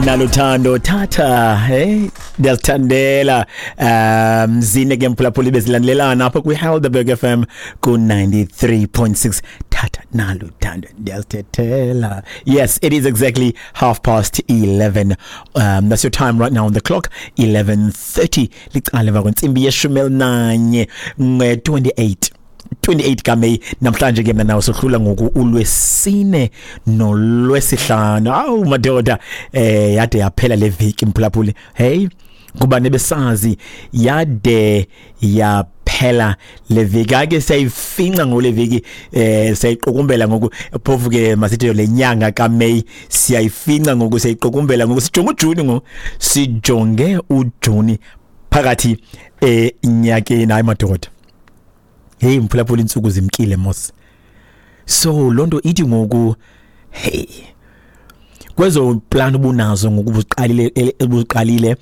Naluthando thatha, hey, ndiyazithandela. Zine ke mphulaphuli bezilandelelana apha kwi-Helderberg FM ku-93.6. Thatha naluthando, ndiyazithethela. Yes, it is exactly 11:30. That's your time right now on the clock, 11:30 licala emva kwentsimbi yeshumi elinanye, 28 kaMeyi namhlanje. Ke mna nawe sohlula ngoku ulwesine nolwesihlanu. Awu madoda, yade yaphela le veki mphulaphuli. Hey, kuba nebesazi yade yaphela le veki, ake siyayifinca ngole veki, siyayiqukumbela ngoku. Phofu ke masithi le nyanga kaMeyi siyayifinca ngoku, siyayiqukumbela ngoku, sijonge uJuni ngoku, sijonge uJuni phakathi enyakeni. Hayi madoda, hey mphulaphula, intsuku zimkile mos. So lonto ithi ngoku, hey, kwezo plan ubunazo ngoku ubuqalile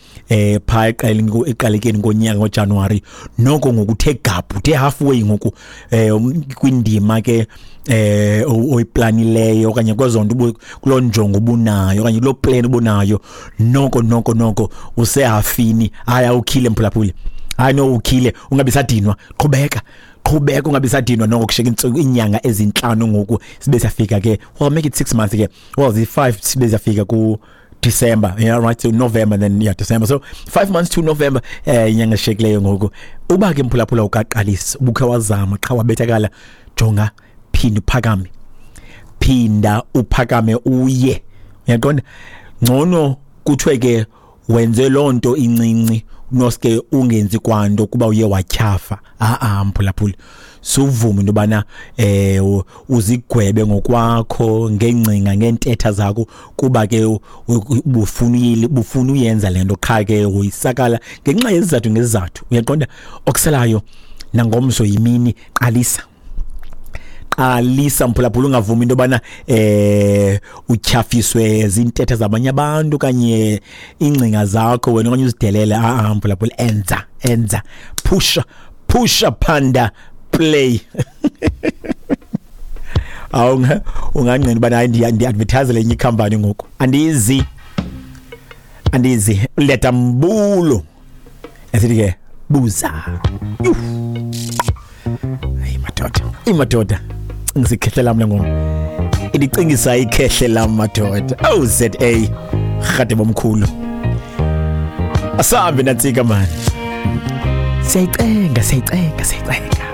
pha eqalekeni konyaka ngoJanuary, noko ngokuthe gap, uthe halfway ngoku kwindima ke oyiplanileyo okanye kwezo nto, kuloo njongo ubunayo okanye kuloo plan ubunayo, noko usehafini. Hayi, awukhile mphulaphuli, hayi no, ukhile, ungabi sadinwa, qhubeka qhubeka, ungabi sadinwa. Noko kusheka intsuku, inyanga ezintlanu ngoku sibe siyafika ke, well, make it 6 months ke, well, the 5 sibe siyafika ku December. Yeah, right, so November, then, yeah, December, so 5 months to November, inyanga eshiyekileyo ngoku. Uba ke mphulaphula ukaqalisa, ubukhe wazama qha wabethakala, jonga, phinda uphakame, phinda uphakame uye, uyaqonda? Ngcono kuthiwe ke wenze loo nto incinci noske ungenzi kwanto kuba uye watyhafa. A-a mphulaphuli, suvume into yobana uzigwebe ngokwakho ngengcinga, ngeentetha zakho, kuba ke ubufuna uyenza le nto, qha ke woyisakala ngenxa yezizathu ngezizathu, uyaqonda? Okuselayo nangomso yimini, qalisa, qalisa mphulaphula, ungavumi into yobana utyhafiswe zintetha zabanye abantu okanye ingcinga zakho wena okanye uzidelele. A-a mphulaphula, enza, enza, pusha, pusha, phanda, play. Awu, ungangqina ubana hayi, ndi-advertise lenye ikhampani ngoku, andizi, andizi. Leta mbulo esithi ke buza. Hayi madoda, imadoda, cingisa ikhehle lam le ngoma, indicingisa ikhehle lam madoda. Oh, za rhade bomkhulu, asambe nantsika mani, siyayicenga, siyayicenga, siyayicenga.